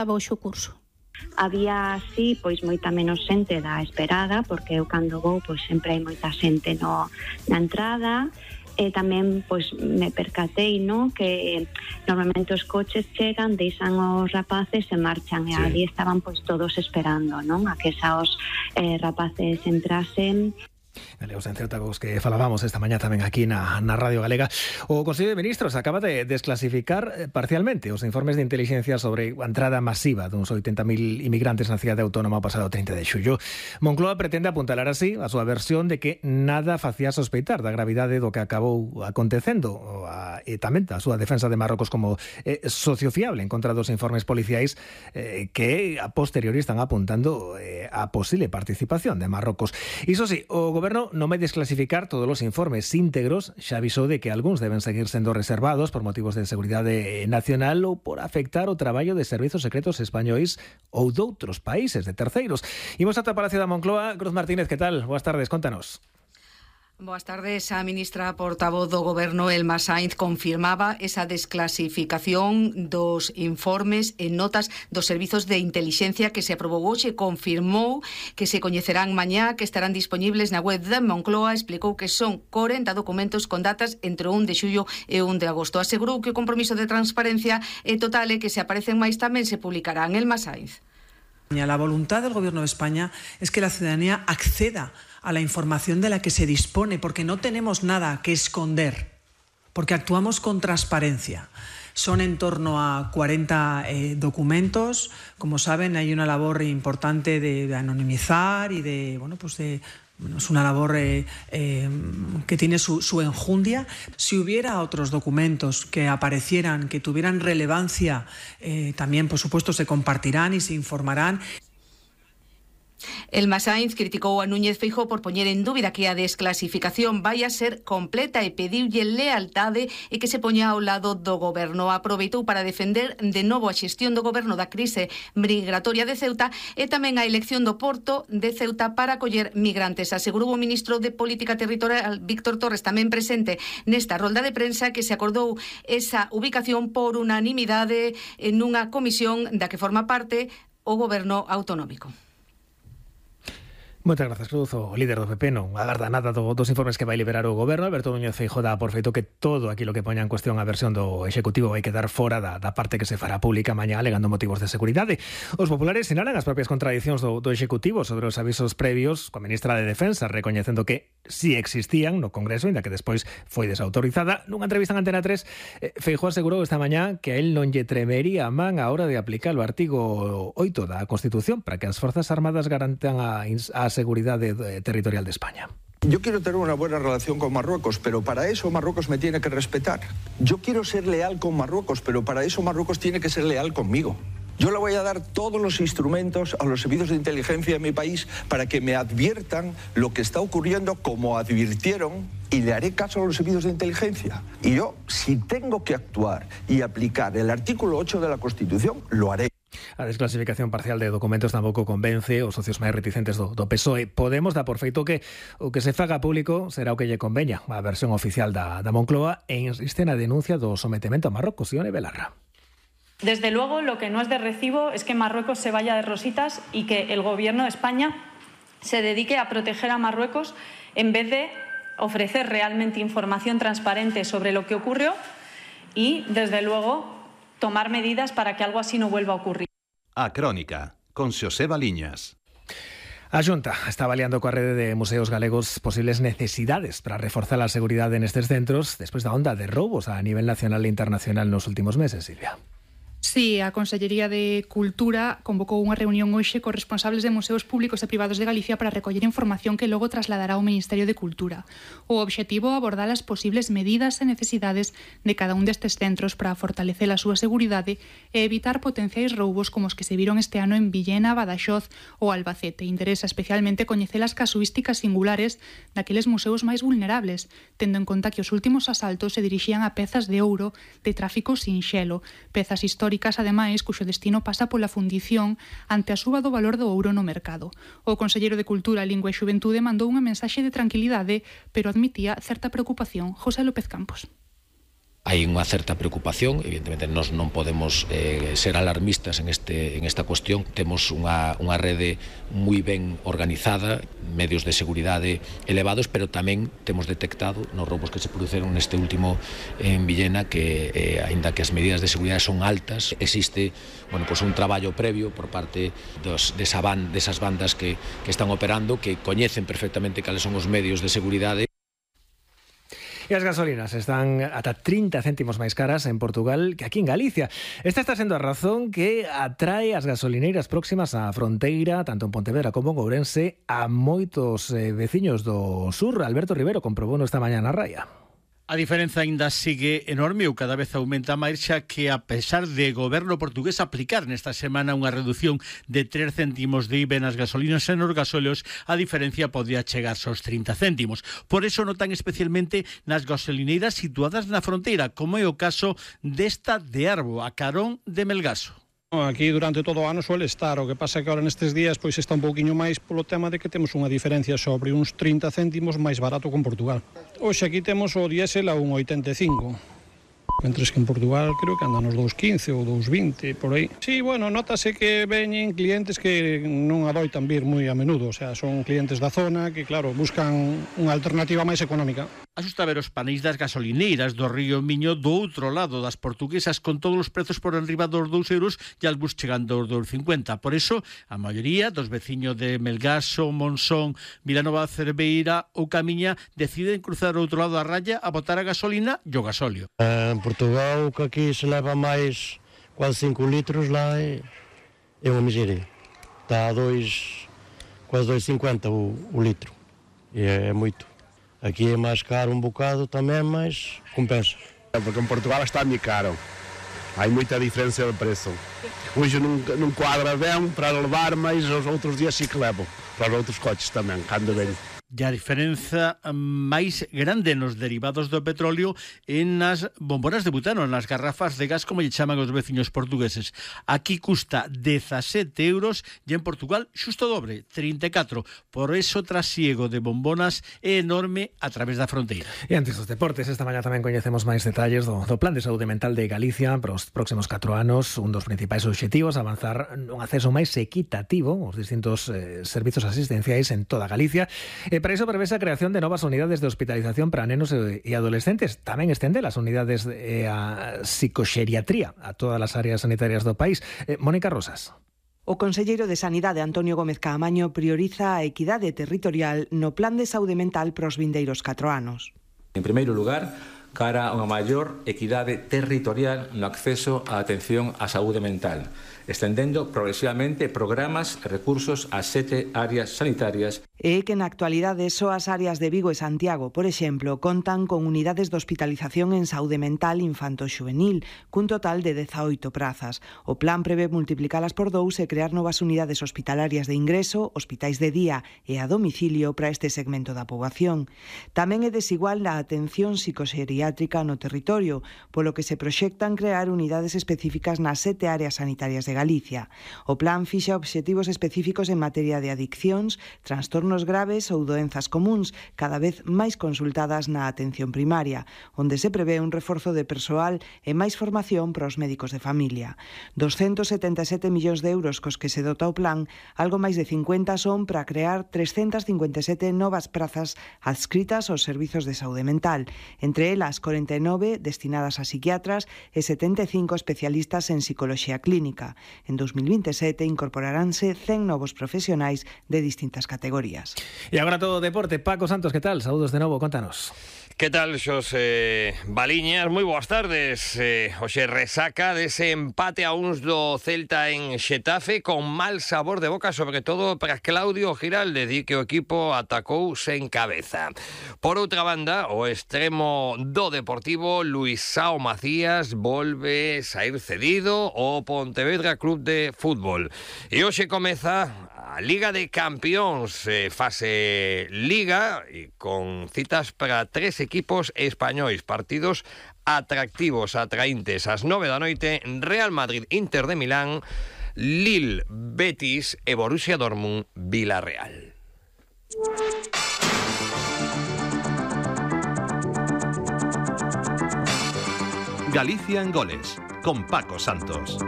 Abaixo o curso. Había así, pois moita menos xente da esperada, porque eu cando vou, pois sempre hai moita xente na entrada. E tamén pois me percatei, no, que normalmente os coches chegan, deixan os rapaces e marchan, e ali estaban pois todos esperando, non, a que esos rapaces entrasen. Os en Ceuta cos que falábamos esta mañá tamén aquí na Radio Galega. O Consello de Ministros acaba de desclasificar parcialmente os informes de inteligencia sobre a entrada masiva duns 80.000 inmigrantes na cidade autónoma o pasado 30 de xullo. Moncloa pretende apuntalar así a súa versión de que nada facía sospeitar da gravidade do que acabou acontecendo, e tamén a súa defensa de Marrocos como sociofiable en contra dos informes policiais que a posteriori están apuntando a posible participación de Marrocos. Iso sí, o Goberno non vai desclasificar todos os informes íntegros, xa avisou de que algúns deben seguir sendo reservados por motivos de seguridade nacional ou por afectar o traballo de servizos secretos españois ou doutros países, de terceiros. Imos ata o Palacio da Moncloa. Cruz Martínez, que tal? Boas tardes, contanos. Boas tardes. A ministra portavoz do Goberno, Elma Sainz, confirmaba esa desclasificación dos informes e notas dos servizos de intelixencia que se aprobou hoxe. Confirmou que se coñecerán mañá, que estarán disponibles na web da Moncloa. Explicou que son 40 documentos con datas entre o 1 de xullo e o 1 de agosto. Asegurou que o compromiso de transparencia é total e que se aparecen máis tamén se publicarán. Elma Sainz. La voluntad del Gobierno de España es que la ciudadanía acceda a la información de la que se dispone, porque no tenemos nada que esconder, porque actuamos con transparencia. Son en torno a 40 documentos. Como saben, hay una labor importante de anonimizar y de, es una labor que tiene su enjundia. Si hubiera otros documentos que aparecieran, que tuvieran relevancia, también, por supuesto, se compartirán y se informarán. Elma Sainz criticou a Núñez Feijóo por poñer en dúbida que a desclasificación vai a ser completa e pediulle lealtade e que se poña ao lado do Goberno. Aproveitou para defender de novo a xestión do Goberno da crise migratoria de Ceuta e tamén a elección do porto de Ceuta para acoller migrantes. Asegurou o ministro de Política Territorial, Víctor Torres, tamén presente nesta rolda de prensa, que se acordou esa ubicación por unanimidade nunha comisión da que forma parte o Goberno autonómico. Moitas grazas, Cruz. O líder do PP non agarda nada dos informes que vai liberar o Goberno. Alberto Núñez Feijóo dá por feito que todo aquilo que poña en cuestión a versión do Executivo vai quedar fora da parte que se fará pública mañá, alegando motivos de seguridade. Os populares sinalan as propias contradicións do Executivo sobre os avisos previos, coa ministra de Defensa recoñecendo que si existían no Congreso, ainda que despois foi desautorizada. Nunha entrevista en Antena 3, Feijóo asegurou esta mañá que a él non lle tremería a man a hora de aplicar o artigo 8 da Constitución para que as Forzas Armadas garantan a seguridad territorial de España. Yo quiero tener una buena relación con Marruecos, pero para eso Marruecos me tiene que respetar. Yo quiero ser leal con Marruecos, pero para eso Marruecos tiene que ser leal conmigo. Yo le voy a dar todos los instrumentos a los servicios de inteligencia de mi país para que me adviertan lo que está ocurriendo como advirtieron, y le haré caso a los servicios de inteligencia. Y yo, si tengo que actuar y aplicar el artículo 8 de la Constitución, lo haré. A desclasificación parcial de documentos tampouco convence os socios máis reticentes do PSOE. Podemos dar por feito que o que se faga público será o que lle conveña, a versión oficial da Moncloa, e insiste na denuncia do sometemento a Marrocos. Ione Belarra. Desde luego, lo que no es de recibo es que Marruecos se vaya de rositas y que el Gobierno de España se dedique a proteger a Marruecos en vez de ofrecer realmente información transparente sobre lo que ocurrió y, desde luego, tomar medidas para que algo así no vuelva a ocurrir. A Crónica, con Xoseba Liñas. A Xunta está avaliando coa rede de museos galegos posibles necesidades para reforzar a seguridade nestes centros despois da onda de roubos a nivel nacional e internacional nos últimos meses, Silvia. Sí, a Consellería de Cultura convocou unha reunión hoxe cos responsables de museos públicos e privados de Galicia para recoller información que logo trasladará ao Ministerio de Cultura. O obxectivo é abordar as posibles medidas e necesidades de cada un destes centros para fortalecer a súa seguridade e evitar potenciais roubos como os que se viron este ano en Villena, Badaxoz ou Albacete. Interesa especialmente coñecer as casuísticas singulares daqueles museos máis vulnerables, tendo en conta que os últimos asaltos se dirixían a pezas de ouro de tráfico sinxelo, pezas históricas ademais, cuxo destino pasa pola fundición ante a suba do valor do ouro no mercado. O conselleiro de Cultura, Lingua e Xuventude mandou unha mensaxe de tranquilidade, pero admitía certa preocupación. José López Campos. Hai unha certa preocupación, evidentemente nós non podemos ser alarmistas en esta cuestión. Temos unha rede moi ben organizada, medios de seguridade elevados, pero tamén temos detectado nos roubos que se produceron neste último en Villena que, aínda que as medidas de seguridade son altas, existe un traballo previo por parte desas bandas que están operando, que coñecen perfectamente cales son os medios de seguridade. E as gasolinas están ata 30 céntimos máis caras en Portugal que aquí en Galicia. Esta está sendo a razón que atrae as gasolineiras próximas á fronteira, tanto en Pontevedra como en Ourense, a moitos veciños do sur. Alberto Rivero comprobouno esta mañá na Raia. A diferenza aínda sigue enorme ou cada vez aumenta máis, xa que a pesar de goberno portugués aplicar nesta semana unha reducción de 3 céntimos de IVA nas gasolinas e nos gasóleos, a diferencia podía chegarse aos 30 céntimos. Por eso notan especialmente nas gasolineiras situadas na fronteira, como é o caso desta de Arbo, a carón de Melgaso. Aquí durante todo o ano suele estar, o que pasa é que ahora nestes días pois está un pouquiño máis polo tema de que temos unha diferencia sobre uns 30 céntimos máis barato con Portugal. Hoxe aquí temos o diésel a 1,85, mentres que en Portugal creo que andan nos 2,15 ou 2,20 por aí. Sí, notase que veñen clientes que non adoitan vir moi a menudo, o sea, son clientes da zona que, claro, buscan unha alternativa máis económica. Asusta ver os paneis das gasolineiras do Río Miño do outro lado das portuguesas con todos os prezos por enriba dos 2 euros e algúns chegando aos 2,50. Por eso, a maioría dos veciños de Melgaso, Monzón, Vilanova de Cerveira ou Camiña deciden cruzar o outro lado da raya a botar a gasolina e o gasóleo. En Portugal, que aquí se leva máis quase 5 litros, lá é unha miseria. Está a quase 2,50 o litro. E é moito. Aquí é máis caro un bocado tamén, mas compensa. Porque en Portugal está moi caro. Hai moita diferencia de preço. Hoje non quadra ben para levar, mas os outros días sí que levo. Para os outros coches tamén, cando ven. E a diferenza máis grande nos derivados do petróleo é nas bombonas de butano, nas garrafas de gas, como lle chaman os veciños portugueses. Aquí custa 17 euros e en Portugal xusto dobre, 34. Por eso o trasiego de bombonas é enorme a través da fronteira. E antes dos deportes, esta mañá tamén coñecemos máis detalles do Plan de Saúde Mental de Galicia para os próximos 4 anos. Un dos principais obxectivos, avanzar nun acceso máis equitativo aos distintos servizos asistenciais en toda Galicia. Para iso prevese a creación de novas unidades de hospitalización para nenos e adolescentes. Tamén estende as unidades a psicoxeriatría a todas as áreas sanitarias do país. Mónica Rosas. O conselleiro de Sanidade, Antonio Gómez Caamaño, prioriza a equidade territorial no Plan de Saúde Mental para os vindeiros 4 anos. En primeiro lugar, cara a unha maior equidade territorial no acceso á atención á saúde mental, estendendo progresivamente programas e recursos ás 7 áreas sanitarias. É que na actualidade só as áreas de Vigo e Santiago, por exemplo, contan con unidades de hospitalización en saúde mental infanto-xuvenil, cun total de 18 prazas. O plan prevé multiplicalas por 2 e crear novas unidades hospitalarias de ingreso, hospitais de día e a domicilio para este segmento da poboación. Tamén é desigual a atención psicoxeriátrica no territorio, polo que se proxectan crear unidades específicas nas 7 áreas sanitarias de Galicia. O plan fixa obxectivos específicos en materia de adiccións, trastornos graves ou doenzas comúns, cada vez máis consultadas na atención primaria, onde se prevé un reforzo de persoal e máis formación para os médicos de familia. 277 millóns de euros cos que se dota o plan, algo máis de 50 son para crear 357 novas prazas adscritas aos servizos de saúde mental, entre elas 49 destinadas a psiquiatras e 75 especialistas en psicoloxía clínica. En 2027 incorporaránse 100 novos profesionais de distintas categorías. E agora todo o deporte. Paco Santos, que tal? Saúdos de novo, contanos. Que tal, Xosé Baliñas? Moi boas tardes. Hoxe resaca dese empate a uns do Celta en Xetafe con mal sabor de boca, sobre todo para Claudio Giralde, di que o equipo atacou sen cabeza. Por outra banda, o extremo do Deportivo, Luisao Macías, volve sair cedido ao Pontevedra Club de Fútbol. E hoxe comeza a Liga de Campións, fase Liga, e con citas para 3 equipos españois, partidos atractivos, atraíntes. Ás 9 da noite, Real Madrid, Inter de Milán, Lille, Betis e Borussia Dortmund, Villarreal. Galicia en Goles, con Paco Santos.